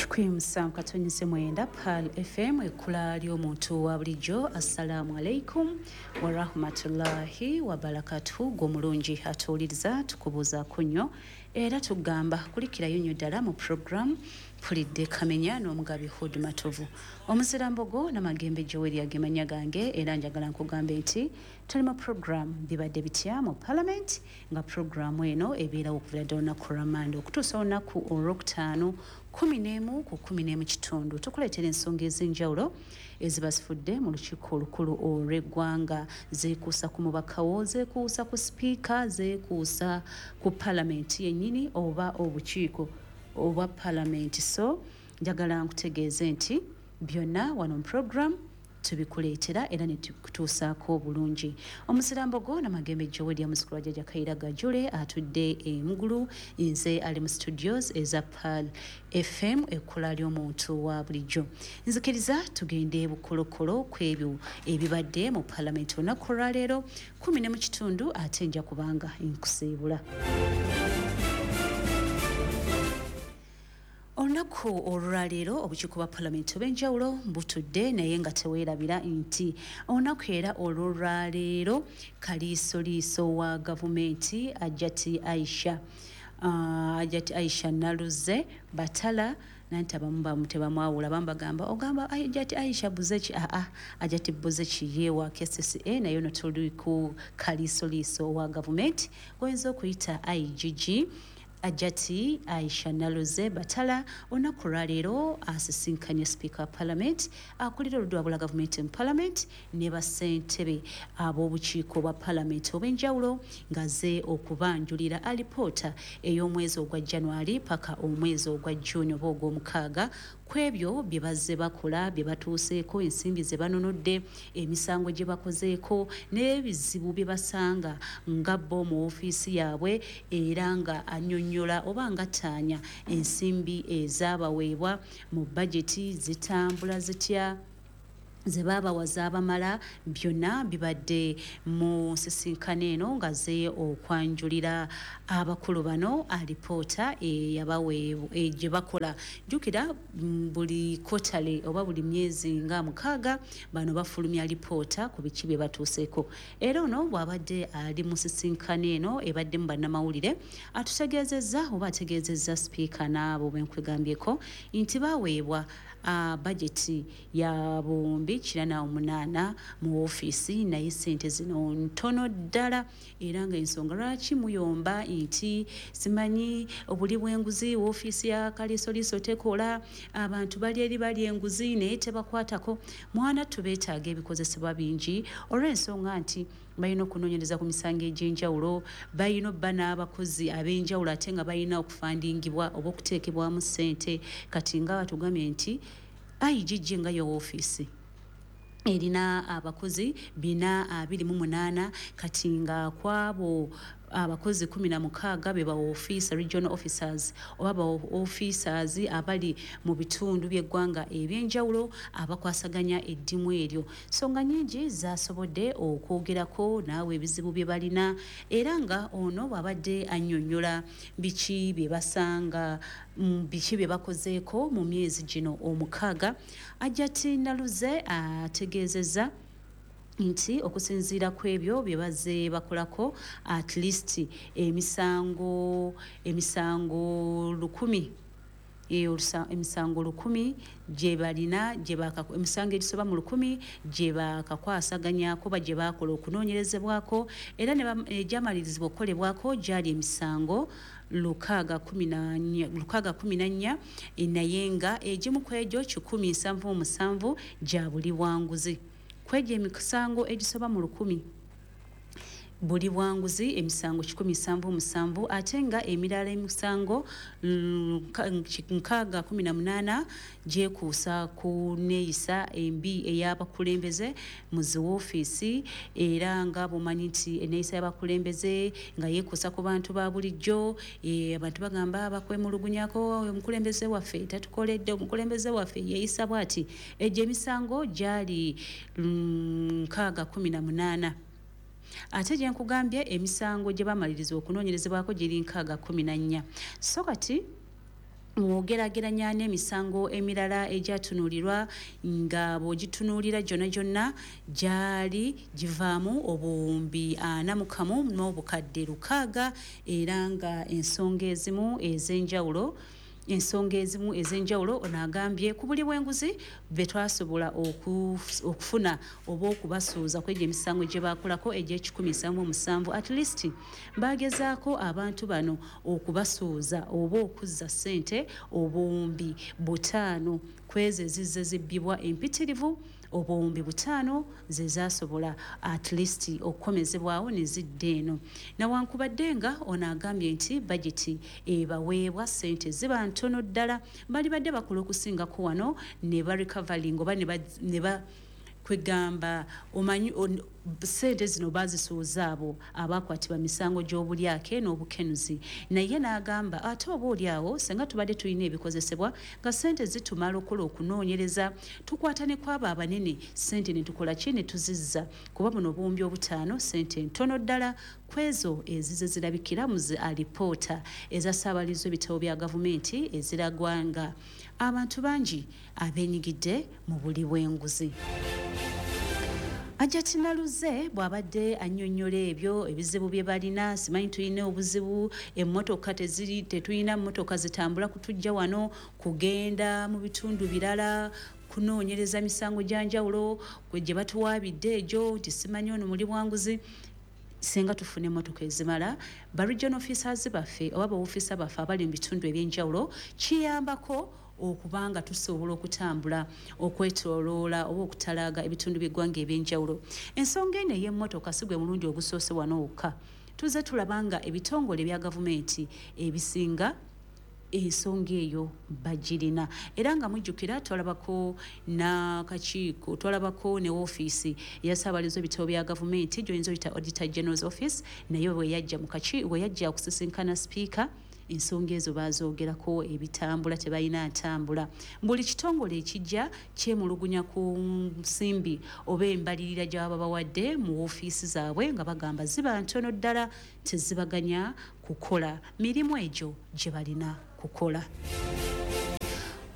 107.9 Pearl FM, ekkula ly'omuntu wa bulijjo. Assalaamu alaikum warahmatullahi wabarakatuhu. Gw'omulungi atuwuliriza, tukubuuzaako nnyo era tugamba kulikirayo nnyo ddala mu program Mpulidde Kamenya n'omugabi Hood Matovu, Omuzirambogo n'Amagembe Joel agemanya gange. Era njagala nkugambe nti tuli mu program Bibadde Bitya mu Parliament, nga programu eno ebeerawo okuvira ddala olunaku lwa okutuusa olunaku olwokutaano 11 ku 11 kitundu. Tukuleetera ensonga ez'enjawulo eziba zifudde mu lukiiko olukulu olw'eggwanga, zeekuusa ku mubakawo, zeekuusa ku sipiika, zeekuusa ku palamenti yennyini oba obukiiko obwa palamenti. So njagala nkutegeeze nti byonna wano mu program tubikuleetera era ne tukutuusaako obulungi. Omuzirambogo Namagembe Joel, muzukulu wa Jjajja Kaira Gajule atudde emugulu. Nze ali mu studios eza Pearl FM, ekkula ly'omuntu wa bulijjo. Nzikiriza tugende bukolokolo ku ebyo ebibadde mu palamenti olunaku olwaleero 10 ne mu kitundu, ate nja kubanga nkusiibula. Olunaku olwaleero obukiiko bwa palamenti obw'enjawulo butudde, naye nga teweerabira nti olunaku era olwolwaleero kaliisoliiso wa gavumenti Hajjati Aisha Naluze Batala, nanti abamu bamu tebamwawula, abamu bagamba ogamba Hajjati Aisha Buzeki. Aa, Hajjati Buzeki yewa KCCA, naye ono tuli ku kaliisoliiso wa gavumenti goyinza okuyita IGG. Hajjati Aisha Naluze Batala olunaku olwaleero asisinkanye sipiika wa parliament, akulira oludda gavumenti mu parliament ne bassentebe ab'obukiiko bwa parliament obw'enjawulo, ng'azze okubanjulira alipoota ey'omwezi ogwa January paka omwezi ogwa June oba ogw'omukaaga, ku ebyo bye bazze bakola, bye batuuseeko, ensimbi ze banonodde, emisango gye bakozeeko n'ebizibu bye basanga nga bo mu ofiisi yaabwe, era nga annyonnyola oba nga ttaanya ensimbi ezaabaweebwa mu bajeti zitambula zitya, ze baabawa zaabamala. Byonna bibadde mu nsisinkano eno nga ze okwanjulira abakulu bano alipoota eyabaweebwa gye bakola. Jjukira buli quarterly oba buli myezi nga 6 bano bafulumya alipoota ku biki bye batuuseeko. Era ono bw'abadde ali mu nsisinkano eno ebaddemu bannamawulire, atutegeezezza oba ategeezezza sipiika n'abo benkugambyeko nti baweebwa bajeti ya 908 mu ofiisi, naye sente zino ntono ddala, era nga ensonga lwaki muyomba nti simanyi obuli bw'enguzi, woofiisi ya kaliisoliiso tekola, abantu bali eri bali enguzi naye tebakwatako. Mwana tubeetaaga ebikozesebwa bingi olw'ensonga nti balina okunoonyereza ku misango egy'enjawulo, balina obba n'abakozi ab'enjawulo, ate nga balina okufandingibwa oba okuteekebwamu ssente. Kati nga batugambye nti IGG nga yo woofiisi erina abakozi 428, kati nga kwabo abakozi 16 be ba officer, regional officers oba ba officers abali mu bitundu by'eggwanga ebyenjawulo abakwasaganya eddimu eryo. Nsonga nyingi zasobodde okwogerako naawe ebizibu bye balina, era nga ono bw'abadde annyonnyola biki bye basanga, biki bye bakozeeko mu myezi gino 6, Hajjati Naluze ategeezezza nti okusinziira ku ebyo bye bazze bakolako, at least emisango 1000, emisango 1000 gye balina, emisango egisoba mu 1000 gye bakakwasaganyako ba gye bakola okunoonyerezebwako, era egyamalirizibwa okukolebwako gyali emisango 614, naye nga egimu ku egyo 177 gya buli bwanguzi. Ku egyo emisango egisoba mu 1000, buli bwanguzi emisango 177, ate nga emirala emisango 618 gyekuusa ku neeyisa embi ey'abakulembeze mu ziwoofiisi. Era nga bw'omanyi nti enneeyisa y'abakulembeze nga yeekuusa ku bantu ba bulijjo, abantu bagamba bakwemulugunyako, omukulembeze waffe tatukoledde, omukulembeze waffe yeeyisa bw'ati. Egyo emisango gyali 618, ate gye nkugambye emisango gye bamaliriza okunoonyerezebwako giri 614. So kati Mwogerageranya n'emisango emirala egyatunuulirwa, nga bw'ogitunuulira gyonna gyonna gyali givaamu 41,600, era nga ensonga ezimu ez'enjawulo ono agambye ku buli bw'enguzi be twasobola okufuna oba okubasuuza kwegyo emisango gye bakolako egy'e177, at least bagezaako abantu bano okubasuuza oba okuzza ssente 50,000 kwezo ezizze zibbibwa empitirivu. 50,000 ze zasobola at least okukomezebwawo ne zidda eno, nawankubadde nga ono agambye nti bageti ebaweebwa ssente ziba ntono ddala, bali badde bakola okusingako wano ne barecovering oba ne ba kwegamba omanyi ssente zino bazisuuza abo abakwatibwa misango gy'obulyake n'obukenuzi. Naye n'agamba ate oba oli awo senga tubadde tulina ebikozesebwa nga ssente zitumala okukola okunoonyereza, tukwata ne kwabo abanene, ssente ne tukola ki, ne tuzizza, kuba buno 50,000 ssente ntono ddala kwezo ezize zirabikira mu zi alipoota ezasaabaliza ebitabo bya gavumenti eziragwa nga abantu bangi abeenyigidde mu buli bw'enguzi. Hajjati Naluze bw'abadde annyonnyola ebyo ebizibu bye balina, simanyi tulina obuzibu, emmotoka teziri, tetulina mmotoka zitambula kutujja wano kugenda mu bitundu birala kunoonyereza misango gya njawulo gye batuwaabidde egyo nti simanyi ono muli bwanguzi. Singa tufuna emmotoka ezimala ba regional officers baffe oba baofiisa baffe abali mu bitundu ebyenjawulo, kiyambako okubanga tusobola okutambula okwetoloola oba okutalaaga ebitundu by'eggwanga ebyenjawulo. Ensonga eno ey'emmotoka si gwe mulundi ogusoose wano wokka, tuzze tulaba nga ebitongole ebya gavumenti ebisinga ensonga eyo bagirina, era nga mujjukira twalabako n'akakiiko, twalabako ne woofiisi eyasaabaliza ebitabo bya gavumenti gy'oyinza oyita Auditor General's Office, naye bwe yajja mu kakiiko, bwe yajja okusisinkana sipiika, ensonga ezo bazoogerako, ebitambula tebalina ntambula. Buli kitongole ekijja kyemulugunya ku nsimbi oba embalirira gy'ababa bawadde mu woofiisi zaabwe, nga bagamba ziba ntono ddala, tezibaganya kukola mirimu egyo gye balina kukola.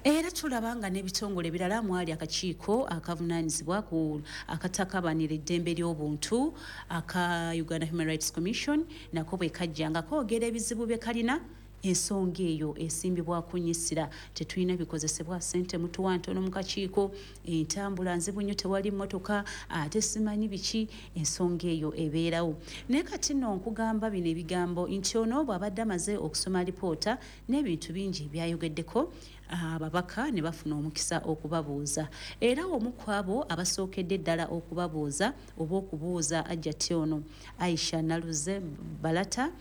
Era tulaba nga n'ebitongole ebirala mwali akakiiko akavunaanyizibwa ku akatakabanira eddembe ly'obuntu aka Uganda Human Rights Commission, nako bwe kajja nga koogera ebizibu bye kalina, ensonga eyo esimbibwako nnyisira: tetulina bikozesebwa, ssente mutuwa ntono mu kakiiko, entambula nzibu nnyo, tewali mmotoka, ate simanyi biki. Ensonga eyo ebeerawo. Naye kati nno nkugamba bino ebigambo nti ono bw'abadde amaze okusoma alipoota n'ebintu bingi byayogeddeko, ababaka ne bafuna omukisa okubabuuza, era omu ku abo abasookedde ddala okubabuuza oba okubuuza Hajjati ono Aisha Naluze Balata,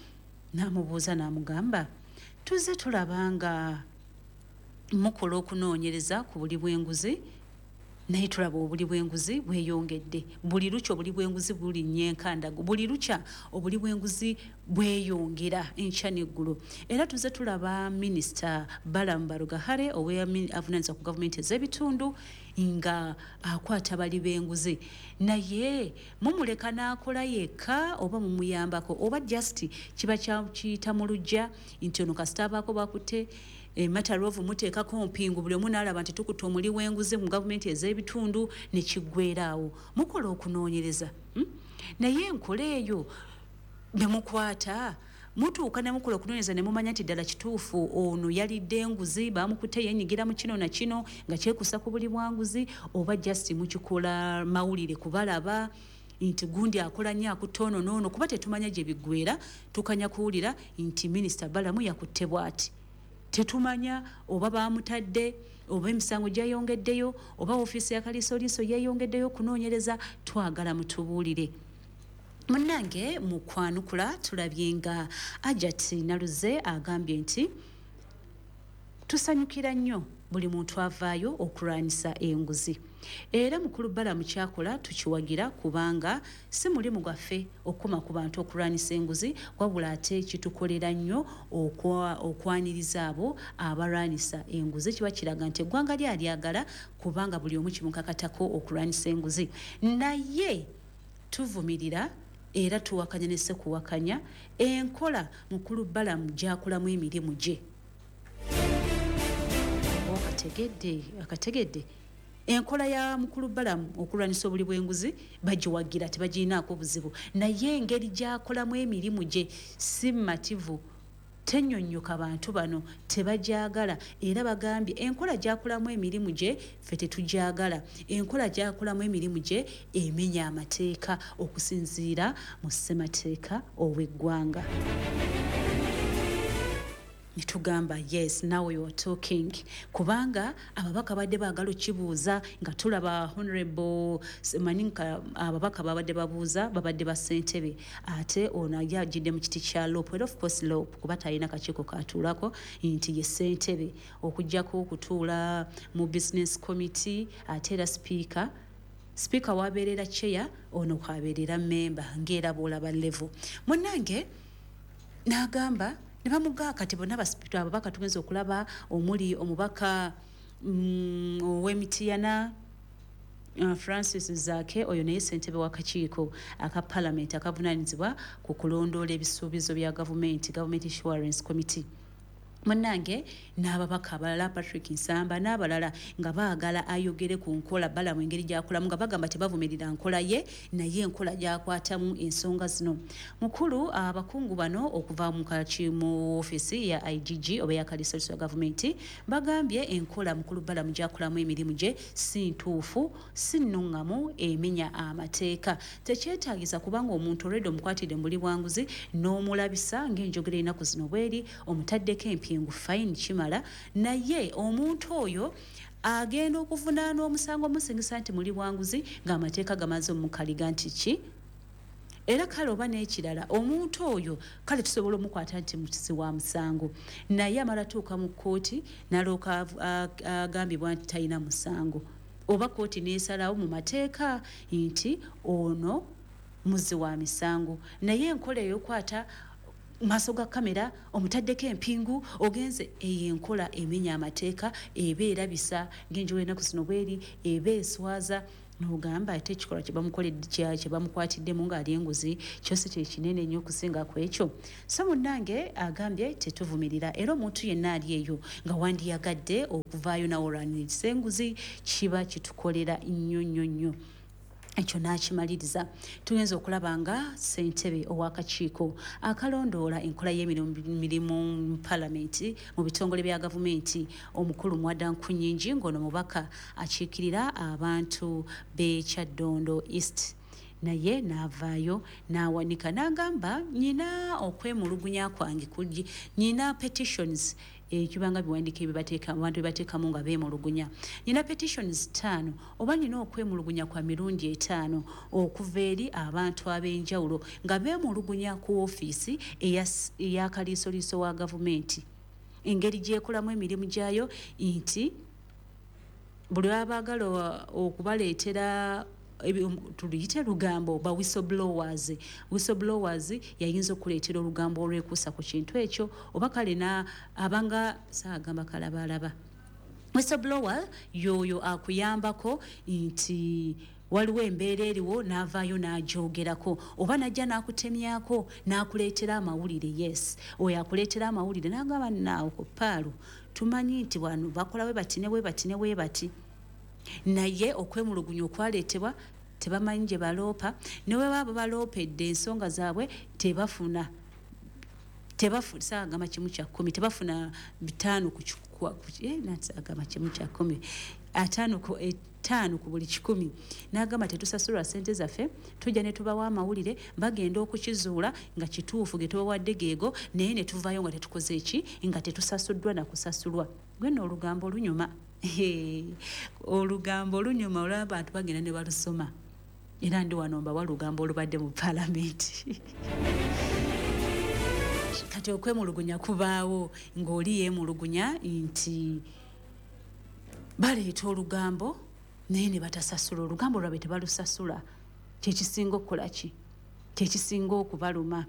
n'amubuuza n'amugamba, tuzze tulaba nga mukola okunoonyereza ku buli bw'enguzi, naye tulaba obuli bw'enguzi bweyongedde buli lukya, obuli bw'enguzi bulinnya enkandago buli lukya, obuli bw'enguzi bweyongera enkya n'eggulo. Era tuzze tulaba Minisita Balaam Barugahare avunaanyizibwa ku gavumenti ez'ebitundu nga akwata bali b'enguzi, naye mumuleka n'akola yekka oba mumuyambako, oba just kiba kiyita mu luggya nti ono kasita abaako bakutte emataloovu muteekako mpingu, buli omu n'alaba nti tukutte omuli w'enguzi mu gavumenti ez'ebitundu ne kiggweeraawo? Mukola okunoonyereza, Naye enkola eyo ne mukwata, mutuuka ne mukola okunoonyereza ne mumanya nti ddala kituufu ono yalidde enguzi, bamukutte yenyigira mu kino na kino nga kyekusa ku buli bwanguzi, oba just mukikola mawulire kubalaba nti gundi akola nnyo akutte ono n'ono, kuba tetumanya gye biggweera? Tukanya kuwulira nti Minisita Balamu yakutte bw'ati, tetumanya oba bamutadde oba emisango gyayongeddeyo oba ofiisi ya Kaliisoliiso yeeyongeddeyo okunoonyereza. Twagala mutubuulire munnange. Mu kwanukula tulabye nga Hajjati Naluze agambye nti tusanyukira nnyo buli muntu avaayo okulwanyisa enguzi, era mukulu Balamu kyakola tukiwagira, kubanga si mulimu gwaffe okukoma ku bantu okulwanyisa enguzi, wabula ate kitukolera nnyo okwaniriza abo abalwanyisa enguzi. Kiba kiraga nti eggwanga lyalyagala, kubanga buli omu kimukakatako okulwanyisa enguzi. Naye tuvumirira era tuwakanya ne sekuwakanya enkola mukulu Balamu gyakolamu emirimu gye. Okategedde, akategedde. Enkola ya mukulu Balamu okulwanyisa obuli bw'enguzi bagiwagira, tebagirinaako buzibu, naye engeri gy'akolamu emirimu gye si mmativu, tennyonnyoka bantu bano tebajagala. Era bagambye enkola gy'akolamu emirimu gye ffe tetugyagala, enkola gy'akolamu emirimu gye emenya amateeka okusinziira mu ssemateeka ow'eggwanga. Ne tugamba yes, now you are talking, kubanga ababaka badde baagala okibuuza nga tulaba honorable manyi ababaka babadde babuuza babadde ba ssentebe, ate ono ye ajjidde mu kiti kya LOP, era of course LOP kuba talina kakiiko katuulako nti ye ssentebe, okuggyako okutuula mu business committee. Ate era speaker wabeerera chair, ono kwabeerera member, ng'era bw'olaba level. Munnange n'agamba ne bamugaa kati bonna ababaka tugenza okulaba omuli omubaka ow'Emitiyana Francis Zaake, oyo naye ssentebe w'akakiiko aka palamenti akavunaanyizibwa ku kulondoola ebisuubizo bya gavumenti, Government Assurance Committee. Munnange n'ababaka abalala Patrick Nsamba n'abalala nga baagala ayogere ku nkola Balamu engeri gy'akolamu, nga bagamba tebavumirira nkola ye, naye enkola gy'akwatamu ensonga zino. Mukulu abakungu bano okuva mu ofiisi ya IGG oba ya kaliisoliiso ya gavumenti bagambye enkola mukulu Balamu gy'akolamu emirimu gye si ntuufu, si nnuŋŋamu, emenya amateeka. Tekyetaagisa kubanga omuntu olwedde omukwatidde mu buli bwanguzi n'omulabisa ng'enjogera ennaku zino bweri, omutaddeko empingu, fine, kimala, naye omuntu oyo agenda okuvunaana omusango omusingisa nti muli bwanguzi ng'amateeka gamaze omukaliga nti ki. Era kale oba n'ekirala, omuntu oyo kale tusobola omukwata nti mukisi wa musango, naye amala tuuka mu kkooti n'alooka agambibwa nti talina musango, oba kkooti n'esalawo mu mateeka nti ono muzzi wa misango, naye enkola ey'okwata maaso ga kamera omutaddeko empingu ogenze, eyo enkola emenya amateeka, eba erabisa ng'enjolo ennaku zino bweri, eba eswaza n'ogamba ate ekikolwa kye bamukwatiddemu ng'ali enguzi kyose kye kinene nnyo okusinga ku ekyo. So munnange agambye tetuvumirira, era omuntu yenna ali eyo nga wandiyagadde okuvaayo nawe olwanirisa enguzi kiba kitukolera nnyo nnyo nnyo. Ekyo n'akimaliriza. Tuyinza okulaba nga ssentebe ow'akakiiko akalondoola enkola y'emirimu mu palamenti mu bitongole bya gavumenti omukulu Mwada Nkunyingi, ng'ono mubaka akiikirira abantu b'e Kyaddondo East, naye n'avaayo n'awanika n'agamba nyina okwemulugunya kwange kugi, nyina petitions ekibanga biwandiiko ebibateeka abantu bebateekamu nga beemulugunya, nyina petitions 5 oba nyina okwemulugunya kwa mirundi 5 okuva eri abantu ab'enjawulo nga beemulugunya ku ofiisi eya kaliisoliiso wa gavumenti engeri gy'ekolamu emirimu gyayo, nti buli abaagala okubaleetera tuluyite lugambo ba whistleblowers. Whistleblowers yayinza okuleetera olugambo olwekuusa ku kintu ekyo, oba kale abanga saagamba kalabalaba. Whistleblower y'oyo akuyambako nti waliwo embeera eriwo n'avaayo n'agyogerako, oba n'ajja n'akutemyako n'akuleetera amawulire. Yes, oyo akuleetera amawulire n'agamba naawe ku ppaalu tumanyi nti wano bakola bwe bati ne bwe bati ne bwe bati, naye okwemulugunya okwaleetebwa tebamanyi gye baloopa, ne bwe baba baloopedde ensonga zaabwe tebafuna, saagamba 1/10, tebafuna 5 ku agamba 1/10, 5 ku buli 100. N'agamba tetusasulwa ssente zaffe, tujja ne tubawa amawulire, bagenda okukizuula nga kituufu ge tubawadde geego, naye ne tuvaayo nga tetukoze ki, nga tetusasuddwa na kusasulwa. Gwe nno olugambo lunyuma. Olugambo lunyuma olw'abantu bagenda ne balusoma. Era ndi wano mbawa olugambo olubadde mu palamenti. Kati okwemulugunya kubaawo ng'oli yeemulugunya nti baleeta olugambo naye ne batasasula, olugambo lwabwe tebalusasula, kyekisinga okukola ki, kyekisinga okubaluma.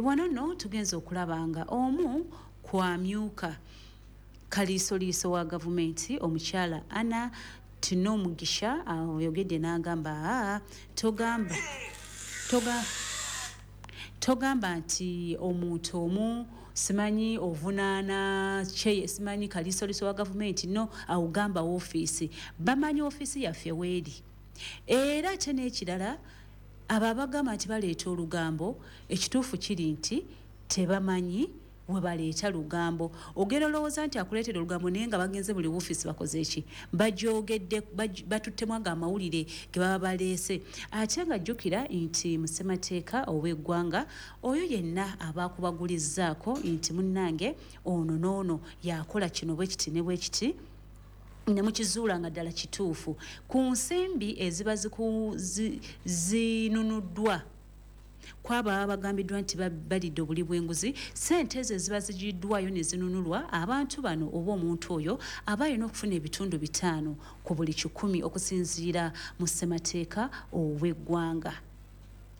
Wano nno tugenza okulaba nga omu kwamyuka kaliisoliiso wa gavumenti omukyala Anna Tinomugisha oyogedde n'agamba togamba nti omuntu omu Simanyi ovunaana kyeye, simanyi kalisoliso wa gavumenti, no awugamba woofiisi. Bamanyi ofiisi yaffe weeri. Era ate n'ekirala, abo abagamba nti baleeta olugambo, ekituufu kiri nti tebamanyi we baleeta lugambo. Ogenda olowooza nti akuleetera olugambo, naye nga bagenze buli woofiisi bakoze eki, bagyogedde, batuttemu ago amawulire ge baba baleese. Ate nga jjukira nti mu ssemateeka ow'eggwanga, oyo yenna aba akubagulizzaako nti munnange ono n'ono yakola kino bwe kiti ne bwe kiti, ne mukizuula nga ddala kituufu, ku nsimbi eziba zinunuddwa kwabo ababa bagambiddwa nti balidde obuli bw'enguzi, ssente ezo eziba zigiddwayo ne zinunulwa abantu bano oba omuntu oyo aba alina okufuna ebitundu 5 ku buli 100 okusinziira mu ssemateeka ow'eggwanga.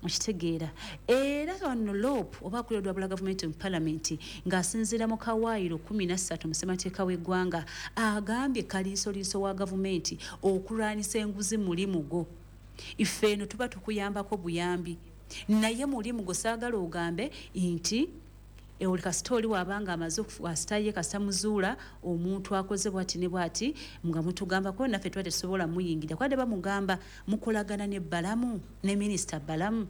Okitegeera? Era wano LOP oba akulira olwabula gavumenti mu palamenti ng'asinziira mu kawaayiro 13 mu ssemateeka w'eggwanga agambye kaliisoliiso wa gavumenti okulwanyisa enguzi mulimu gwo. Ife eno tuba tukuyambako buyambi, naye mulimu gwo. Saagala ogambe nti oli kasita oli waabanga amaze asita ye kasita muzuula omuntu akoze bwati ne bwati nga mutugambako, naffe tuba tetusobola muyingira. Kwadde bamugamba mukolagana ne Balamu ne minisita Balamu,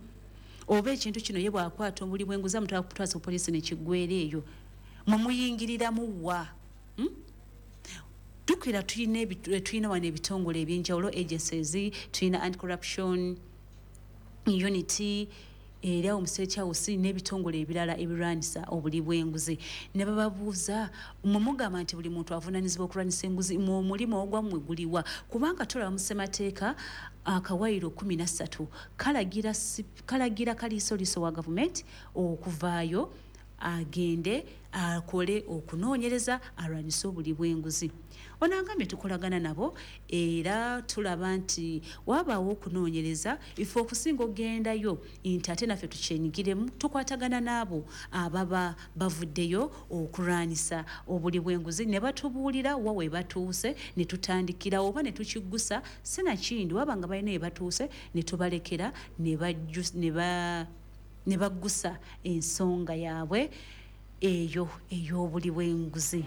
oba ekintu kino ye bw'akwata obuli bw'enguzi amutwala kutwasa ku poliisi ne kiggweera eyo, mwe muyingiriramu wa? Jjukira tulina wano ebitongole ebyenjawulo, agencies, tulina anti-corruption unit era awo mu State House n'ebitongole ebirala ebirwanyisa obuli bw'enguzi. Ne bababuuza, mwe mugamba nti buli muntu avunaanyizibwa okulwanyisa enguzi, mwe omulimu ogwammwe guliwa? Kubanga tulaba mu ssemateeka akawaayiro 13 kalagira kaliisoliiso wa gavumenti okuvaayo agende akole okunoonyereza alwanyise obuli bw'enguzi. Ono agambye tukolagana nabo era tulaba nti wabaawo okunoonyereza, ife okusinga okugendayo nti ate naffe tukyenyigiremu, tukwatagana n'abo ababa bavuddeyo okulwanyisa obuli bw'enguzi ne batubuulira wa we batuuse ne tutandikirawo oba ne tukiggusa, sinakindi waba nga balina we batuuse ne tubalekera ne baggusa ensonga yaabwe eyo ey'obuli bw'enguzi.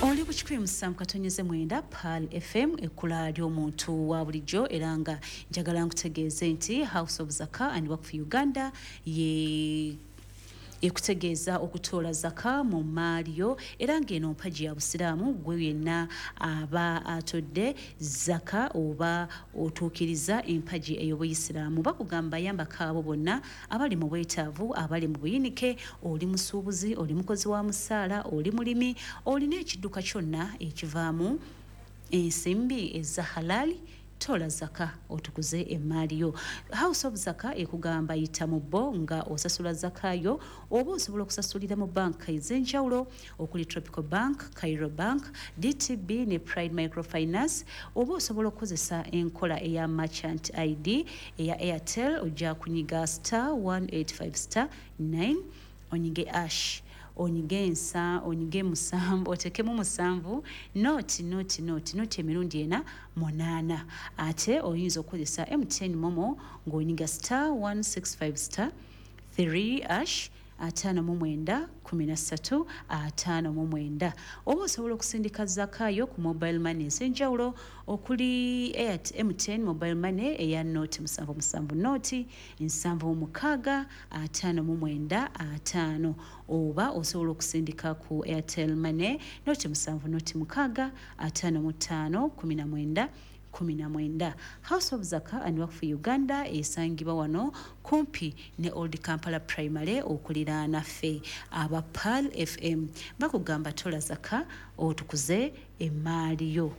Oli ku 107.9 Pearl FM, ekkula ly'omuntu wa bulijjo. Era nga njagala nkutegeeze nti House of Zaka and Waqf Uganda ye ekutegeeza okutoola zaka mu mmaali yo, era ng'eno mpagi ya busiraamu. Gwe yenna aba atodde zaka oba otuukiriza empagi ey'obuyisiraamu. Bakugamba yambako abo bonna abali mu bwetaavu, abali mu buyinike. Oli musuubuzi, oli mukozi wa musaala, oli mulimi, olina ekidduka kyonna ekivaamu ensimbi eza halali, tola zaka otukuze emmaali yo. House of Zaka ekugamba yita mu bo nga osasula zaka yo, oba osobola okusasulira mu banka ez'enjawulo okuli Tropical Bank, Cairo Bank, DTB ne Pride Microfinance, oba osobola okukozesa enkola eya merchant ID eya Airtel. Ojja kunyiga star 185 star 9 onyige hash, onyige ensa, onyige 7, otekemu 7 nought nought nought nought emirundi 4 8. Ate oyinza okukozesa MTN MoMo ng'onyiga star 165 star 3 hash 59 13 59, oba osobola okusindika zakayo ku mobile money ez'enjawulo okuli MTN mobile money eya nought 7 7 nought 7 6 59 5, oba osobola okusindika ku Airtel Money nought 7 nought 6 55 19 19. House of Zaka and Waqf Uganda esangibwa wano kumpi ne Old Kampala Primary okuliraana ffe aba Pearl FM. Bakugamba tola zaka otukuze emmaali yo.